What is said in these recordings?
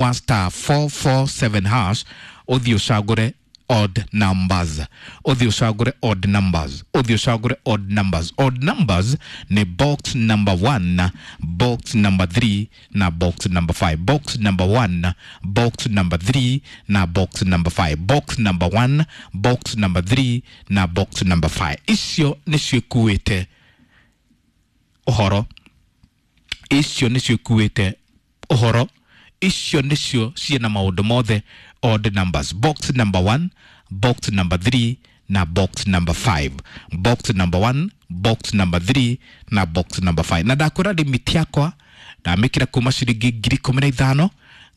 Wa star 447 hash, ũthiĩ ũcagũre odd numbers, ũthiĩ ũcagũre odd numbers, ũthiĩ ũcagũre odd numbers. Odd numbers nĩ box number 1, box number 3 na box number 5. Box number 1, box number 3 na box number 5. Box number 1, box number 3 na box number 5, icio nĩcio ikuĩte ũhoro, icio nĩcio ikuĩte ũhoro, icio nĩcio ciĩna maũndũ mothe. Odd numbers, box number 1, box number 3 na box number 5. Box number 1, box number 3 na box number 5. Na ndakwĩra limit yakwa ndamĩkĩra kuma ciringi 15,000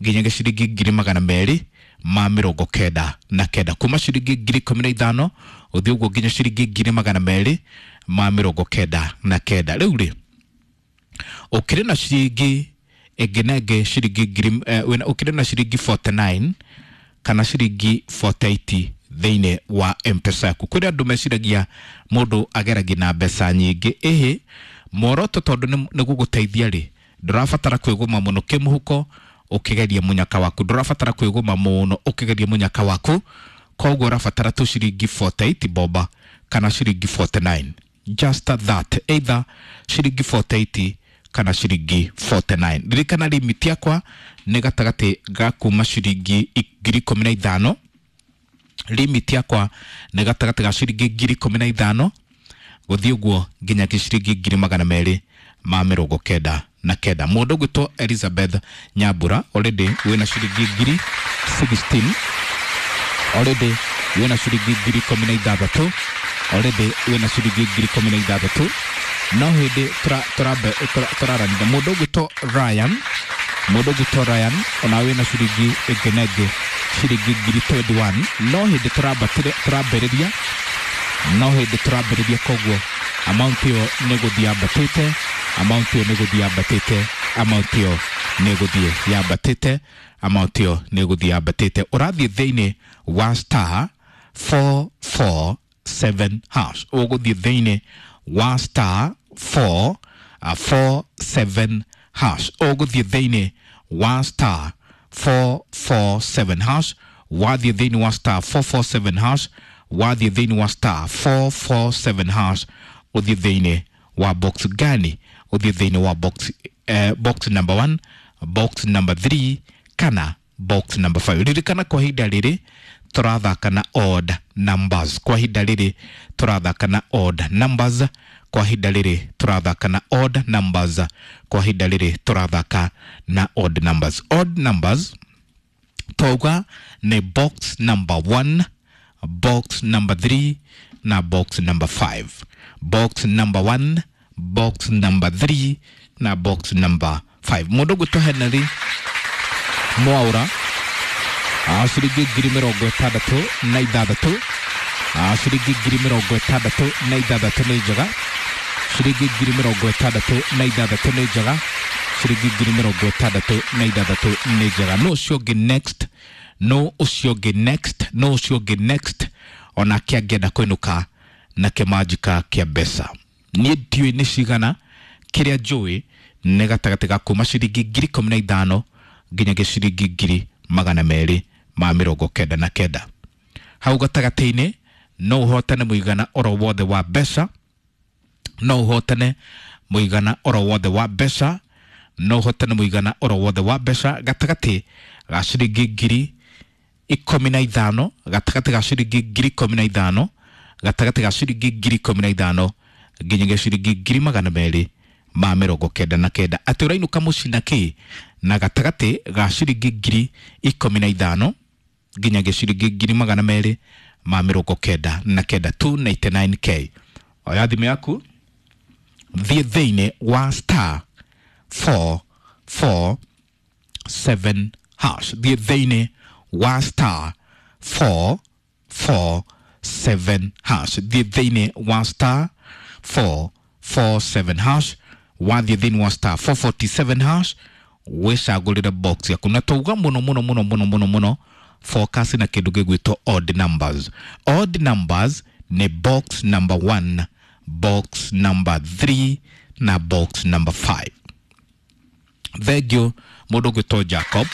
nginyagia ciringi 299,000. Kuma ciringi 15,000 ũthiĩ ũguo nginya ciringi 299,000. Rĩu rĩ, ũkĩrĩ na ciringi ĩngĩ na ĩngĩ, ciringi ngiri ũkĩrĩ na ciringi 49 kana ciringi 48 thĩinĩ wa Mpesa yaku. Kũrĩ andũ meciragia mũndũ ageragia na mbeca nyingĩ. Ĩhĩ, muoroto tondũ nĩ gũgũteithia rĩ, ndũrabatara kwĩgũma mũno kĩmũhuko ũkĩgeria mũnyaka waku, ndũrabatara kwĩgũma mũno ũkĩgeria mũnyaka waku. Koguo ũrabatara tu ciringi 48 boba kana ciringi 49, just that, either ciringi 48 kana ciringi 49. Ririkana limit yakwa nĩ gatagatĩ ga kuma ciringi 15,000. Limit yakwa nĩ gatagatĩ ga ciringi 15,000 gũthiĩ ũguo nginya ciringi 299,000. Mũndũ ũgwĩtwo Elizabeth Nyambura, already wĩna ciringi 16,000, already wĩna ciringi 16,000, already wĩna ciringi 16,000. No hĩndĩ tũraranire mũndũ ũgwĩtwo Ryan, mũndũ ũgwĩtwo Ryan ona wĩna ciringi ĩngĩ na ĩngĩ ciringi 21,000. No hĩndĩ tũrambatire tũrambĩrĩria, no hĩndĩ tũrambĩrĩria, koguo amount ĩyo nĩ gũthiĩ yambatĩte, amount ĩyo nĩ gũthiĩ yambatĩte, amount ĩyo nĩ gũthiĩ yambatĩte, amount ĩyo nĩ gũthiĩ yambatĩte. Ũrathiĩ thĩinĩ wa star 447 hash, ũgũthiĩ thĩinĩ wa star 4 47 hash, ũgũthiĩ thĩinĩ wa star 447 hash. Wathiĩ thĩinĩ wa star 447 hash, wathiĩ thĩinĩ wa star 447 hash, ũthiĩ thĩinĩ wa box gani? Ũthiĩ thĩinĩ wa box, box number 1, box number 3 kana box number 5. Ririkana kwa ihinda rĩrĩ tũrathaka na odd numbers, kwa ihinda rĩrĩ tũrathaka na odd numbers, kwa ihinda rĩrĩ tũrathaka na odd numbers, kwa ihinda rĩrĩ tũrathaka na odd numbers. Odd numbers twauga nĩ box number 1, box number 3 na box number 5. Box number 1, box number 3 na box number 5. Mũndũ ũgwĩtwo Henry Mwaura, ciringi 66,000, ciringi 66,000 nĩ njega, ciringi 66,000 nĩ njega, ciringi 66,000 nĩ njega. No ũcio ũngĩ next, no ũcio ũngĩ next, no ũcio ũngĩ next onake angĩenda kũinũka na kĩmanjika kĩa mbeca. Niĩ ndiũĩ nĩ cigana, kĩrĩa njũĩ nĩ gatagatĩ ga kuma ciringi 15,000 nginyagia ciringi 299,000. Hau gatagatĩ-inĩ no ũhotane mũigana oro wothe wa mbeca, no ũhotane mũigana oro wothe wa mbeca, no ũhotane mũigana oro wothe wa mbeca gatagatĩ ga ciringi 15,000, gatagatĩ ga ciringi 15,000, gatagatĩ ga ciringi 15,000 nginyagia ciringi 299,000. Atĩ ũrainũka mũciĩ na kĩ? Na gatagatĩ ga ciringi 15,000 nginyagia ciringi 299,000, 299K. Oya thimũ yaku, thiĩ thĩinĩ wa star 447 hash, thiĩ thĩinĩ wa star 447 hash, thiĩ thĩinĩ wa star 447 hash. Wathiĩ thĩinĩ wa star 447 hash, wĩcagũrĩre box yaku. Na twauga mũno mũno mũno mũno mũno mũno focus na kĩndũ gĩgwĩtwo odd numbers. Odd numbers nĩ box number 1, box number 3 na box number 5. Thengio. Mũndũ ũgwĩtwo Jacob.